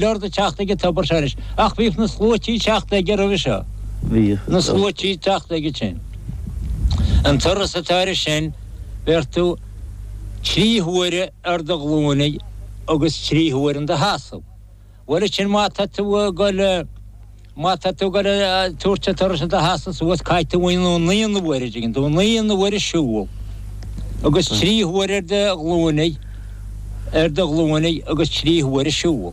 Ort ag teacht ag an tobar seo anois, ach bhíodh na sluaití ag teacht aige roimhe seo. Bhíodh. Na sluaití ag teacht aige sin. An turas atá air sin, bheir tú trí huaire ar do ghlúine agus trí huaire in do sheasamh. Bhuel ansin má tá tú ag goil, má tá tú ag goil ag tabhairt an turais in do sheasamh suas, caithfidh tú naoi n-uaire, dtuigeann tú, naoi n-uaire siúl agus trí huaire ar do ghlúine, ar do ghlúine agus trí huaire siúl.